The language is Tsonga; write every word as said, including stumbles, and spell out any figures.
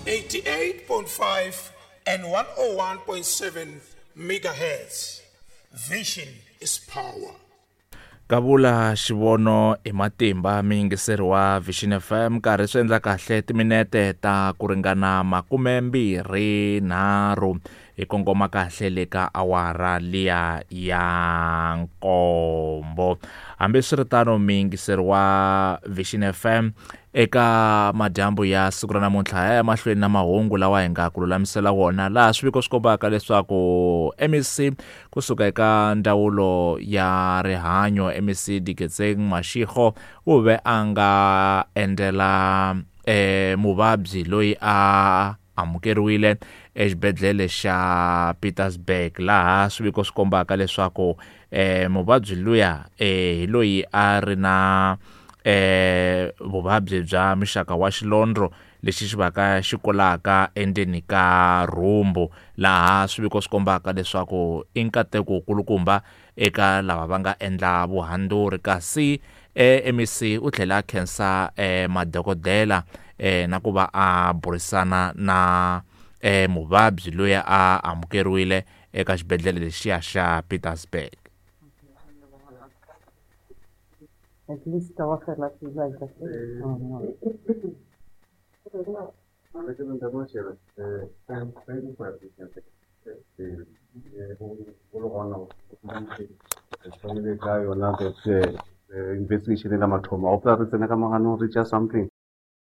eighty-eight point five and one oh one point seven megahertz. Vision is power. Kavula xivono i matimba miyingiseri wa Vision F M nkarhi swi endla kahle timinete ta ku ringana makume mbirhi nharhu hi kongoma kahle le ka awara liya ya nkombo. Hambiswiritano miyingiseri wa Vision F M eka madyambu ya siku ra namuntlha ya mahlweni na mahungu lawa hi nga ku lulamisela wona, laha swiviko swi kombaka leswaku M E C kusuka eka ndzawulo ya rihanyo M E C Diketseng Mashego u ve a nga endlela eh muvabyi loyi a amukeriwile exibedhlele xa Pietersburg, laha swiviko swi kombaka leswaku eh muvabyi luya eh hi loyi a ri na eh vuvabyi bya muxaka wa xilondro lexi xi vaka xi kulaka endzeni ka rhumbu, laha swiviko swi kombaka leswaku i nkateko wukulukumba eka lava va nga endla vuhandzuri. Kasi eh, M E C u tlhela a khensa eh, madokodela eh, na ku va a burisana na eh, muvabyi loyi a amukeriwile eka xibedhlele lexiya xa Pietersburg. At least our fellas is like that. Investigation la mathomo a re tsena ka moganong re tša something